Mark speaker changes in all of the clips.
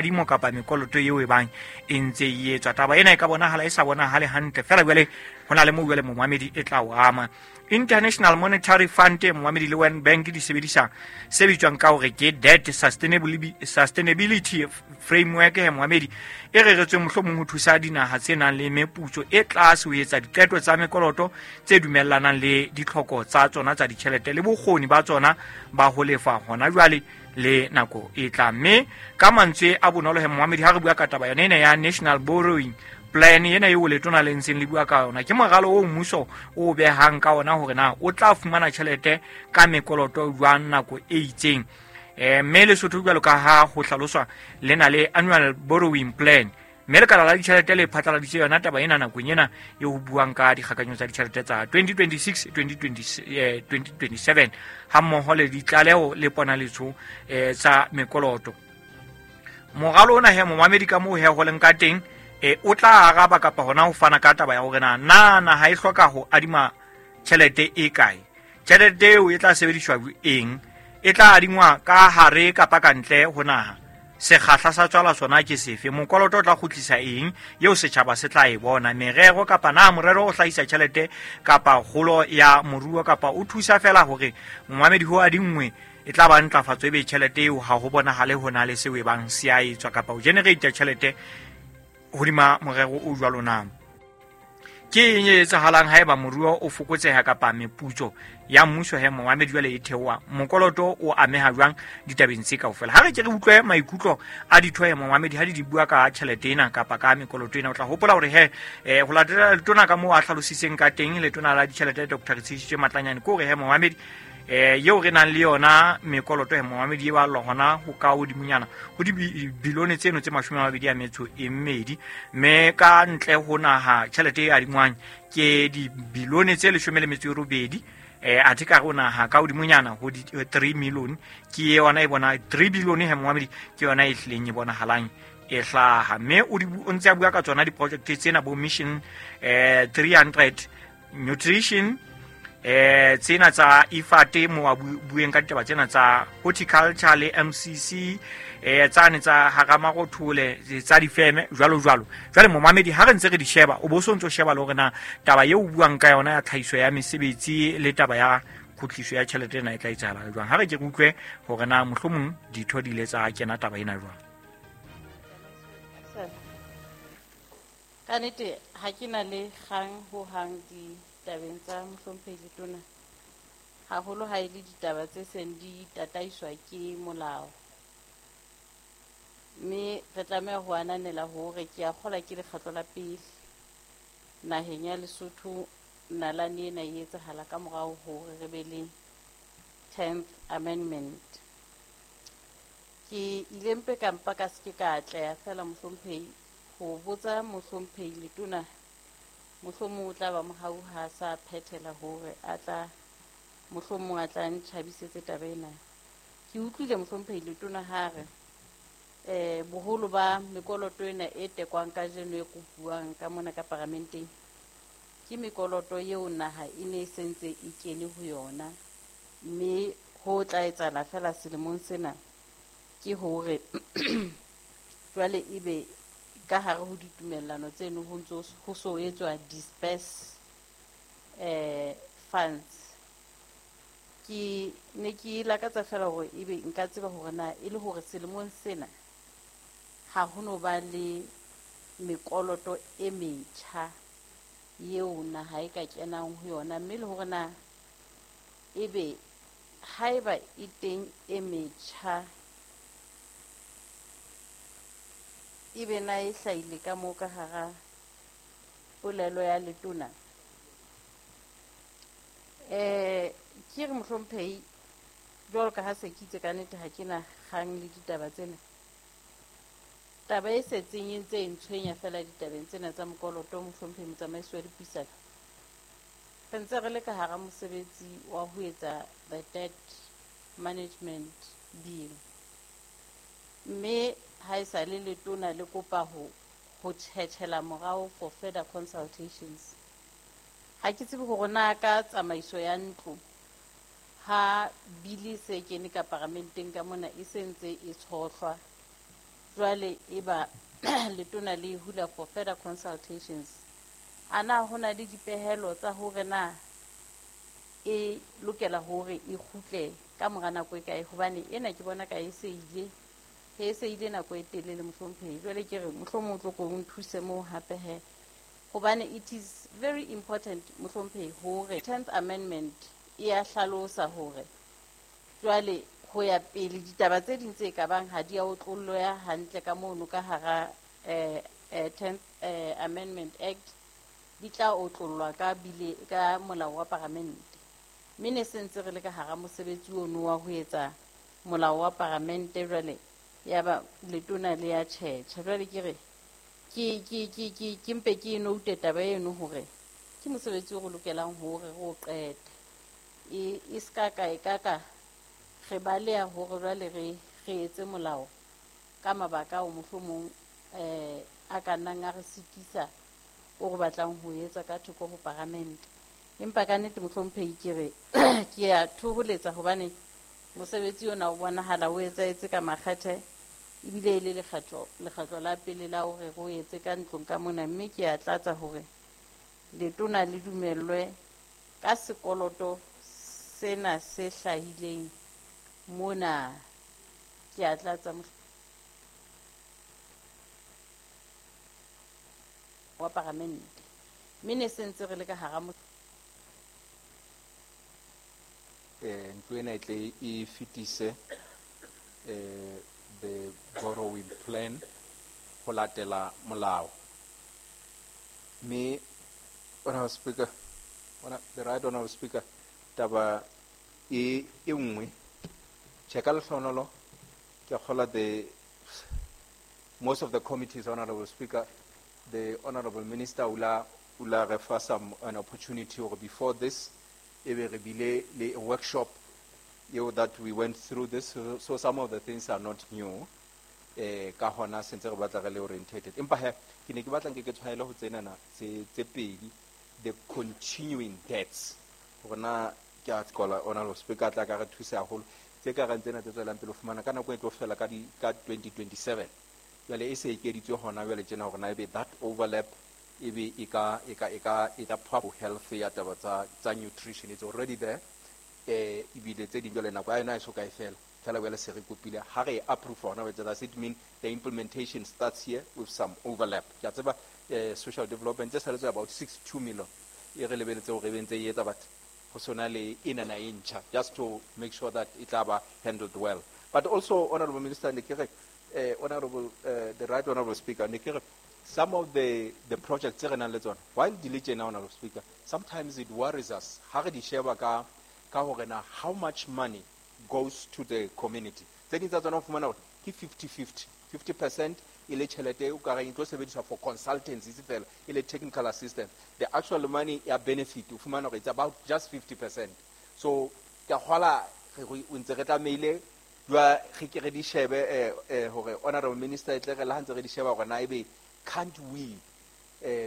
Speaker 1: Dimo kapa mekoloto eo e bang e ntse e etswa. Taba ena e ka bonahala e sa bonahale hantle fela, jwale ho na le moo jwale momamedi e tla o ama. International Monetary Fund, momamedi, le World Bank di sebedisa se bitswang ka hore ke debt sustainability framework he momamedi, e reretsweng mohlomong ho thusa dinaha tse nang le meputso e tlase ho etsa diqeto tsa mekoloto tse dumellanang le ditlhoko tsa tsona tsa ditjhelete le bokgoni ba tsona ba ho lefa hona jwale le nako e tlang. Mme ka mantswe a bonolo he momamedi, ha re bua ka taba yone ena ya national borrowing plan ena eo letona le ntseng le bua ka yona, ke moralo o mmuso o behang ka ona hore na o tla fumana tjhelete ka mekoloto jwang nako e itseng. Mme Lesotho, jwalo ka ha ho hlaloswa, le na le annual borrowing plan, mme lekala la ditjhelete le phatlaladitse yona taba ena nakong ena e ho buang ka dikgakanyo tsa ditjhelete tsa 2026 2027 ha mmoho le ditlaleho le ponaletso tsa mekoloto. Moralo ona he momamedi, ka moo he ho leng ka teng, o tla araba kapa hona ho fana ka taba ya hore na naha e hloka ho adima tjhelete e kae, tjhelete eo e tla sebediswa eng, e tla adingwa ka hare kapa ka ntle ho naha, sekgahla sa tswala sona ke sefe, mokoloto o tla kgutlisa eng eo setjhaba se tla e bona, merero kapa na morero o hlahisa tjhelete kapa kgolo ya moruo kapa o thusa fela hore momamedi ho adinngwe e tla ba ntlafatso, ebe tjhelete eo ha ho bonahale ho na le seo e bang se a etswa kapa ho generate tjhelete hodima morero o jwalo. Na ke eng e etsahalang haeba moruo o fokotseha kapa meputso ya mmuso he momamedi jwale e theoha, mokoloto o ameha jwang ditabeng tse kaofela? Ha re ke re utlwe maikutlo a ditho he momamedi ha di bua ka tjhelete ena kapa ka mekoloto ena. O tla hopola hore he ho latela letona ka moo a hlalositseng ka teng, letona la ditjhelete Dr Retshedisitswe Matlanyane, ke hore he momamedi eo re nang le yona mekoloto he momamedi e ballwa hona ho ka hodimonyana ho dibilione tseno tse 22, mme ka ntle ho naha tjhelete e adingwang ke dibilione tse 18, athe ka re naha ka hodimonyana ho di 3 million ke yona e bona 3 billion he momamedi, ke yona e hlileng e bonahalang e hlaha. Mme o ntse a bua ka tsona di-project tsena bo Mission 300 nutrition, tsena tsa IFAD, mo a bueng ka ditaba tsena tsa horticulture le MCC, tsane tsa Haramarothole tsa difeme jwalo jwalo. Jwale momamedi, ha re ntse re di sheba, o bo so ntso sheba le hore na taba eo o buang ka yona ya tlhahiso ya mesebetsi le taba ya kgutliso ya tjhelete ena e tla etsahala jwang. Ha re ke re utlwe hore na mohlomong ditho di ile tsa kena taba ena jwang.
Speaker 2: Ka nnete ha ke na le kgang ho hang ditabeng tsa mohlomphehi letona, haholo ha e le ditaba tse seng di tataiswa ke molao, mme re tlameha ho ananela hore ke a kgolwa ke lekgetlo la pele naheng ya Lesotho nalane ena e etsahala ka morao hore re be le 10th Amendment. Ke ile mpe ka mpa ka se ke ka atleha fela mohlomphehi ho botsa mohlomphehi letona, mohlomong o tla ba mohau ha sa phethela hore a tla mohlomong a tla ntjhabisetse taba ena. Ke utlwile mohlomphehi letona ha re boholo ba mekoloto ena e tekwang kajeno e kopuwang ka mona ka paramenteng ke mekoloto eo naha e ne e sentse e kene ho yona, mme ho tla etsahala fela selemong sena ke hore jwale ebe ka hare ho ditumellano tseno ho ntso ho so etswa disperse funds. Ke ne ke lakatsa fela hore ebe nka tseba hore na e le hore selemong sena ha ho no ba le mekoloto e metjha eo naha e ka kenang ho yona, mme le hore na ebe haeba e teng e metjha ebe na e hlahile ka moo ka hara polelo ya letona. Ke re mohlomphehi, jwalo ka ha se ke itse ka nnete ha ke na kgang le ditaba tsena, taba e setseng e ntse e ntshwenya fela ditabeng tsena tsa mokoloto, mohlomphehi motsamaisi wa dipuisano, re ntse re le ka hara mosebetsi wa ho etsa the debt management bill, mme ha e sa le letona le kopa ho tjhetjhela morao for further consultations. Ha ke tsebe hore na ka tsamaiso ya ntlo ha bili se kene ka paramenteng ka mona e se ntse e tshohlwa. Jwale eba letona le hula for further consultations. Ana ho na le dipehelo tsa hore na e lokela hore e kgutle ka mora nako e kae, hobane ena ke bona ka e se ile, e se ile nako e telele mohlomphehi. Jwale ke re mohlomong o tlo ko o nthuse moo hape he, hobane it is very important mohlomphehi hore 10th amendment e ya hlalosa hore jwale ho ya pele ditaba tse ding tse ka bang ha di a otlolloha hantle ka mono ka hara 10th Amendment Act di tla otlollwa ka bile ka molao wa paramente. Mme ne se ntse re le ka hara mosebetsi ono wa ho etsa molao wa paramente, jwale ya ba letona le ya tjhetjha. Jwale ke re ke mpe ke note taba eno hore ke mosebetsi o re lokelang hore re o qete. E ska ka e ka ka re baleha hore jwale re etse molao ka mabaka ao mohlomong a ka nnang a re sitisa o re batlang ho etsa ka thoko ho paramente. Empa ka nnete mohlomphehi ke re ke a thoholetsa hobane mosebetsi ona o bonahala o etsahetse ka makgethe, ebile e le lekgetlo la pele la hore re o etse ka ntlong ka mona, mme ke a tlatsa hore letona le dumellwe ka sekoloto sena se hlahileng mona. Ke a tlatsa wa paramente, mme ne se ntse re le ka hara
Speaker 3: ntlo ena e tle e fetise the borrowing plan ho latela molao. Mme Honorable Speaker, the right Honorable Speaker, taba e nngwe tjhe ka lehlohonolo ke kgola the most of the committees, Honorable Speaker, the Honorable Minister ula refer some an opportunity or before this e be re bile le workshop eo that we went through this, so some of the things are not new. Ka hona sentse re batla re le orientated. Empa he ke ne ke batla nke ke tshwaele ho tsenana tse pedi, the continuing debts. Rona ke a qola Honorable Speaker tla ka re thusa haholo tse ka reng tsena tse tswelang pele ho fumana ka nako e tlo fela ka 2027. Jwale e se ekeditswe hona jwale tjena hore na ebe that overlap ebe e ka proper health ya taba tsa nutrition, it's already there. Ebile tse ding jwale nako ya yona e so ka e fela fela jwale se re kopile ha re approve hona jwale. Does it mean the implementation starts here with some overlap? Ke a tseba social development tse saletse about 62 million e re lebeletse hore e be ntse e etsa, but ho sona le enana e ntjha, just to make sure that it tla ba handled well. But also Honorable Minister, ne ke re Honorable the right Honorable Speaker, ne ke re some of the projects tse re nang le tsona while di le tjena, Honorable Speaker, sometimes it worries us ha re di sheba ka hore na how much money goes to the community. Tse ding tsa tsona o fumana hore ke 50-50, 50% e le tjhelete o ka reng e tlo sebediswa for consultancy fela, e le technical assistance. The actual money ya benefit o fumana hore it's about just 50%. So ke a kgola re ntse re tlamehile jwa re ke re di shebe hore Honorable Minister e tle re le ha ntse re di sheba hore na ebe can't we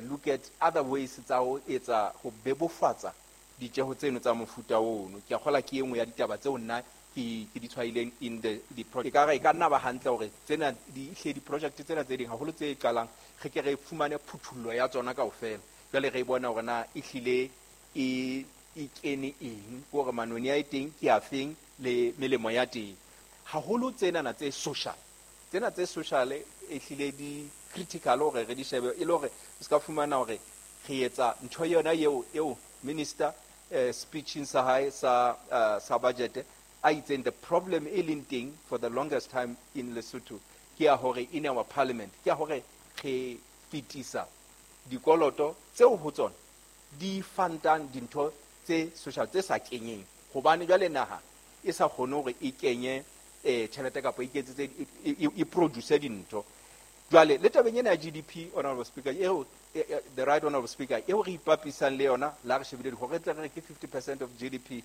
Speaker 3: look at other ways tsa ho etsa ho bebofatsa ditjeho tseno tsa mofuta ono. Ke a kgola ke e nngwe ya ditaba tseo nna ke di tshwaileng in the project. E ka nna ba hantle hore tsena di hle di-project tsena tse ding haholo tse qalang re ke re fumane phuthollo ya tsona kaofela. Jwale re bona hore na e hlile e kene eng, hore manoni a e teng ke a feng le melemo ya teng. Haholo tsenana tse social, tsena tse social e hlile di critical hore re di shebe e le hore se ka fumana hore re etsa ntho yona eo minister speeching sa hae sa budget a itseng the problem e leng teng for the longest time in Lesotho ke ya hore in our parliament ke ya hore re fetisa dikoloto tseo ho tsona di fantang dintho tse social tse sa kenyeng, hobane jwale naha e sa kgone hore e kenye tjhelete kapa e iketsetse e produce dintho. Jwale le tabeng ena ya GDP, Honorable Speaker, eo the right Honorable Speaker, eo re ipapisang le yona la re shebile hore tle re ke 50% of GDP.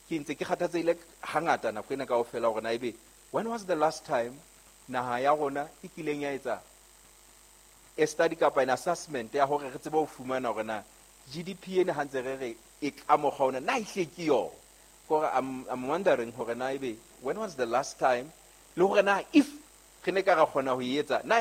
Speaker 3: Ke ntse ke kgathatsehile hangata nako ena kaofela hore na ebe when was the last time naha ya rona e kileng ya etsa a study kapa an assessment ya hore re tsebe ho fumana hore na GDP ena ha ntse re re e ka mokgwa ona na ehle ke yona. Kore I'm wondering hore na ebe when was the last time le hore na if Re ne ka ra kgona ho e etsa na?